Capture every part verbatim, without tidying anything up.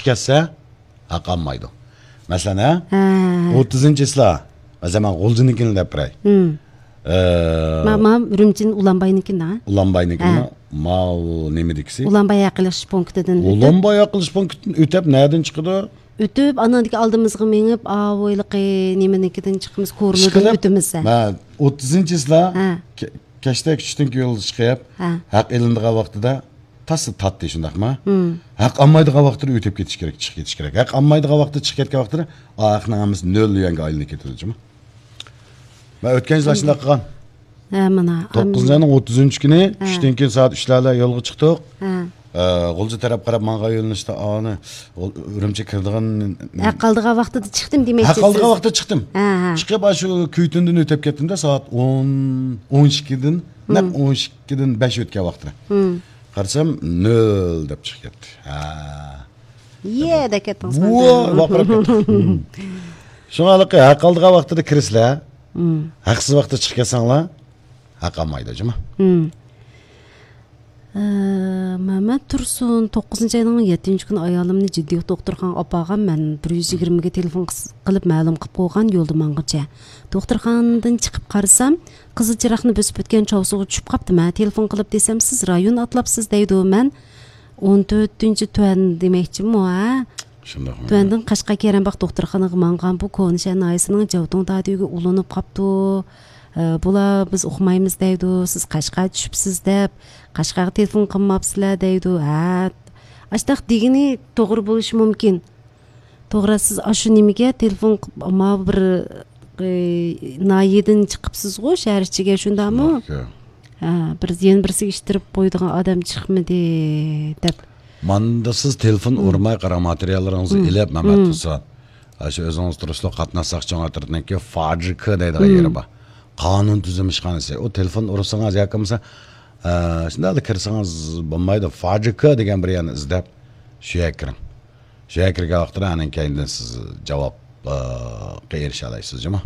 كەتسە، ھەق ئالمايدۇ. مەسىلەن، ھە؟ ھە. ئوتتۇزىنچى چىسلا، مەسىلەن، مەن غۇلجىنىڭكىنى دەپ بېرەي. ھىم. ئە، ما، ما، ئۈرۈمچىنىڭ ئۇلانباينىڭكىنى، ھە؟ ئۇلانباينىڭكىنى، ھە. ماۋۇ نېمىدىكىسى؟ ئۇلانباي ھەق ئېلىش پونكىتىدىن ئۆتۈپ. ئۇلانباي ھەق ئېلىش پونكىتىدىن ئۆتۈپ، نەدىن چىقىدۇ؟ ئۆتۈپ، ئاناندىكى ئالدىمىزغا مېڭىپ، ئاۋۇ ھېلىقى نېمىنىڭكىدىن چىقىمىز، كورلىدىن ئۆتىمىز. مە، ئوتتۇزىنچى چىسلا، ھە. كە-، كەچتە چۈشتىن كېيىن يولغا چىقىپ، ھە. ھەق ئېلىنىدىغان ۋاقتىدا تاسلا تاتتى، شۇنداقمۇ؟ ھىم. ھەق ئالمايدىغان ۋاقتىدا ئۆتۈپ كېتىش كېرەك، چىقىپ كېتىش كېرەك. ھەق ئالمايدىغان ۋاقتىدا چىقىپ كەتكەن ۋاقتىدا ئا ھەقنىڭ ھەممىسى نۆل يۈەنگە ئايلىنىپ كېتىدۇ، جۇمۇ. مەن ئۆتكەن يىل ئاشۇنداق قىلغان. ھە، مانا. توققۇزىنچى ئاينىڭ ئوتتۇزىنچى كۈنى، ھە. چۈشتىن كېيىن سائەت ئۈچلەردە يولغا چىقتۇق. ھە. ئە، غۇلجا تەرەپ قاراپ ماڭغان يۆنىلىشتە ئانى، ئۇ-، ئۈرۈمچىگە كىرىدىغان. ھەق ئالىدىغان ۋاقتىدا چىقتىم دېمەكچى. ھەق ئالىدىغان ۋاقتىدا چىقتىم. ھە، ھە. چىقىپ، ئاشۇ كۈيتۈندىن ئۆتۈپ كەتتىمدە، سائەت ئون، ئون ئىككىدىن، نەق ھىم. ئون ئىككىدىن بەش ئۆتكەن ۋاقتىدا. ھىم. قارىسام، نۆل دەپ چىقىپ كەتتى. ھە. يە دەپ كەتتىڭىز. ۋاي، ۋارقىراپ كەتتىم. شۇڭا ھېلىقى ھەق ئالىدىغان ۋاقتىدا كىرىسىلەر، ھەقسىز ۋاقىتتا چىقىپ كەتسەڭلار، ھەق ئالمايدۇ، جۇمۇ. ئە، مەمەت تۇرسۇن، توققۇزىنچى ئاينىڭ يەتتىنچى كۈنى ئايالىمنى جىددىي دوختۇرخانىغا ئاپارغان. مەن بىر يۈز يىگىرمىگە تېلېفون قىس-، قىلىپ مەلۇم قىلىپ قويغان، يولدا ماڭغۇچە. دوختۇرخانىدىن چىقىپ قارىسام، قىزىل چىراغنى بۆسۈپ ئۆتكەن چاۋسۇغا چۈشۈپ قاپتىمەن. تېلېفون قىلىپ دېسەم، سىز رايون ئاتلاپسىز دەيدۇ. مەن ئون تۆتىنچى تۈەن دېمەكچىمۇ، ھە؟ شۇنداقمۇ؟ تۈەندىن قەشقەر كېرەمباغ دوختۇرخانىغا ماڭغان. بۇ كونىشەھەر ناھىيەسىنىڭ جاۋتۇڭ دادۈگى ئۇلىنىپ قاپتۇ. ئە، بۇلار بىز ئۇقمايمىز دەيدۇ، سىز قەشقەر چۈشۈپسىز دەپ، قەشقەرگە تېلېفون قىلماپسىلەر دەيدۇ. ھە، ئاشتاق دېگىنى توغرا بولۇشى مۇمكىن. توغرا، سىز ئاشۇ نېمىگە تېلېفون قىلىپ، ماۋۇ بىر، ئى، ناھىيەدىن چىقىپسىزغۇ، شەھەر ئىچىگە، شۇنداقمۇ؟ شۇنداق، يا. ھە، بىر، يەنە بىرسىگە ئىتتىرىپ قويىدىغان ئادەم چىقمىدى، دەپ. ماندا سىز تېلېفون ئۇرماي قاراڭ، ماتېرىياللىرىڭىزنى ئېلىپ، مەمەت تۇرسۇن. ئاشۇ ئۆزىڭىز تۇرۇشلۇق قاتناش ساقچى ئاپپاراتىنىڭكى فاجىكا دەيدىغان يېرى بار. قانۇن تۈزۈم ئىشخانىسى. ئۇ تېلېفون ئۇرسىڭىز ياكى بولمىسا، ئە، شۇنداقلا كىرسىڭىز بولمايدۇ. فاجىكا دېگەن بىر يەرنى ئىزدەپ، شۇ يەرگە كىرىڭ. شۇ يەرگە كىرگەن ۋاقتىدا ئانىڭ كەينىدىن سىز جاۋابقا ئېرىشەلەيسىز، جۇمۇ.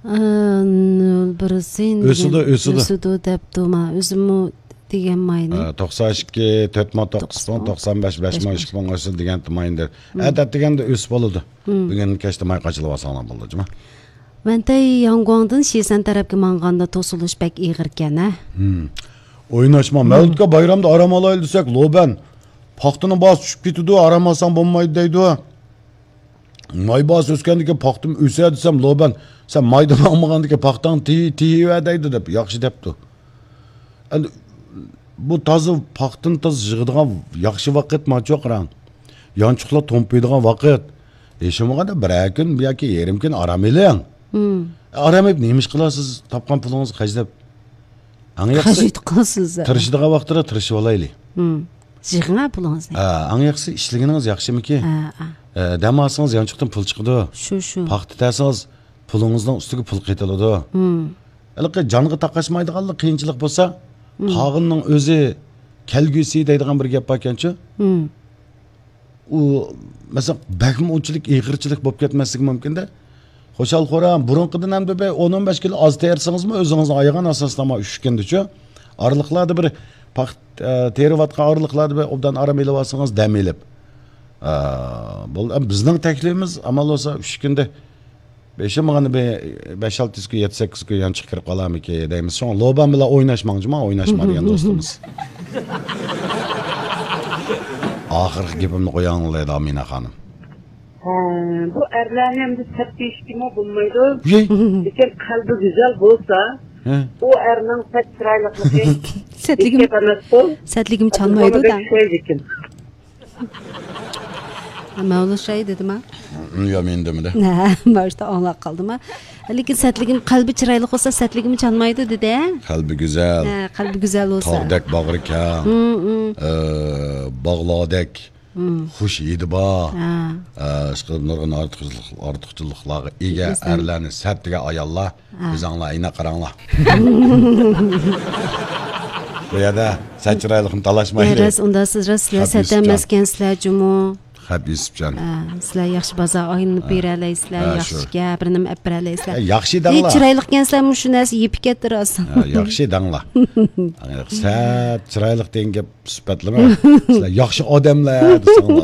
ئە، نۆل بىرسى ئۆسىدۇ، دېگەن، ئۆسىدۇ. ئۆسىدۇ دەپتۇ، ما، ئۆزىمۇ دېگەن ماينى. ئە، توقسان ئىككى، تۆت مىڭ توققۇز پۇڭ، توقسان بەش، بەش مىڭ ئىككى پۇڭ ئۆسىدۇ دېگەن ماينى. ئەتە دېگەندە ئۆسۈپ بولىدۇ. بۈگۈن كەچتە ماي قاچىلىۋالساڭلار بولىدۇ، جۇمۇ. ۋەنتەي ياڭگۇاڭدىن شىسەن تەرەپكە ماڭغاندا توسۇلۇش بەك ئېغىركەن، ھە؟ ھىم. ئويناشما، مەۋلۇتكە بايرامدا ئارام ئالايلى دېسەك، لوبەن، پاختىنىڭ باھاسى چۈشۈپ كېتىدۇ، ئارام ئالساڭ بولمايدۇ دەيدۇ. ماي باھاسى ئۆسكەندىن كېيىن پاختىمۇ ئۆسە دېسەم، لوبەن، سەن مايدا ماڭمىغاندىن كېيىن پاختاڭنى تېيىۋەر دەيدۇ دەپ، ياخشى دەپتۇ. ئەمدى بۇ تازا پاختىنى تازا يىغىدىغان ياخشى ۋاقىت ماچۇ قاراڭ. يانچۇقلار تومپىيىدىغان ۋاقىت. ھېچ بولمىغاندا بىرەر كۈن ياكى يېرىم كۈن ئارام ئېلىڭ. ئارام ئېلىپ نېمە ئىش قىلاسىز؟ تاپقان پۇلىڭىزنى خەجلەپ. ئەڭ ياخشىسى خەجلەپ قىلىسىز. تىرىشىدىغان ۋاقىتتا تىرىشىۋالايلى. يىغىڭ پۇلىڭىزنى. ھە، ئەڭ ياخشىسى ئىشلىگىنىڭىز ياخشىمىكى؟ ھە، ھە. ئە، دەم ئالسىڭىز يانچۇقتىن پۇل چىقىدۇ. شۇ، شۇ. پاختا تەرسىڭىز پۇلىڭىزنىڭ ئۈستىگە پۇل قېتىلىدۇ. ھېلىقى جانغا تاقاشمايدىغانلا قىيىنچىلىق بولسا، قالغىنىنىڭ ئۆزى كەلگۈسى دەيدىغان بىر گەپ باركەنچۇ. ئۇ، مەسىلەن، بەكمۇ ئۇنچىلىك ئېغىرچىلىك بولۇپ كەتمەسلىكى مۇمكىندە. خۇشال-خۇرام، بۇرۇنقىدىن ئەمدى بىر ئون ئون بەش كىلو ئاز تېرىسىڭىزمۇ، ئۆزىڭىزنى ئايىغان ئاساستا ما ئۈچ كۈندىچۇ. ئارىلىقلاردا بىر پاختا، ئە، تېرىۋاتقان ئارىلىقلاردا بىر ئوبدان ئارام ئېلىۋالسىڭىز، دەم ئېلىپ. ئە، بۇ، بىزنىڭ تەكلىپىمىز، ئامال بولسا ئۈچ كۈندە بېشىم مانا بىر بەش-ئالتە يۈز كۈن، يەتتە-سەككىز كۈن يانچۇق كىرىپ قالارمىكى دەيمىز. شۇڭا لوبان بىلەن ئويناشماڭ جۇما، ئويناشما دېگەن دوستىمىز. ئاخىرقى گېپىمنى قوياڭلار دەيدۇ ئامىنە خانىم. ھە، بۇ ئەرلەرنى ئەمدى سەت دېيىشكىمۇ بولمايدۇ. لېكىن قەلبى گۈزەل بولسا، ئۇ ئەرنىڭ سەت چىرايلىقلىقى سەتلىكىم، ھېچ گەپ ئەمەسقۇ. سەتلىكىم چانمايدۇ-دە. ئوخشايدىكىن. مەۋلۇت شاھى دېدىما؟ يا، مېنى دېمىدى. ھە، مانا شۇ ئاڭلاپ قالدىما؟ لېكىن سەتلىكىم، قەلبى چىرايلىق بولسا، سەتلىكىمۇ چانمايدۇ دېدى. قەلبى گۈزەل. ھە، قەلبى گۈزەل بولسا. تاغدەك باغرى كەڭ. ئە، باغلاردەك خۇش ھىدى بار. ھە. ئە، ئىشقىلىپ نۇرغۇن ئارتۇقچىلىق-، ئارتۇقچىلىقلارغا ئىگە ئەرلەرنى سەت دېگەن ئاياللار، ھە، ئۆزۈڭلار ئەينەك قاراڭلار. بۇ يەردە سەت چىرايلىقنى تالاشمايلى. يا، راست، ئۇنداق سىز راست، سىلەر سەت ئەمەسكەنسىلەر جۇمۇ. خەپ يۈسۈپجان. ھە، سىلەر ياخشى بازار ئايلىنىپ بېرەلەيسىلەر، ھە، ياخشى شۇ. گەپ، بىر نېمە ئەپ بېرەلەيسىلەر. ھە، ياخشى دەڭلار. چىرايلىقكەنسىلەرمۇ شۇ نەرسە يېپىپ كەتتى راست. ھە، ياخشى دەڭلار. سەت چىرايلىق دېگەن گەپ سۈپەتلىمە. سىلەر ياخشى ئادەملەر دېسەڭلار.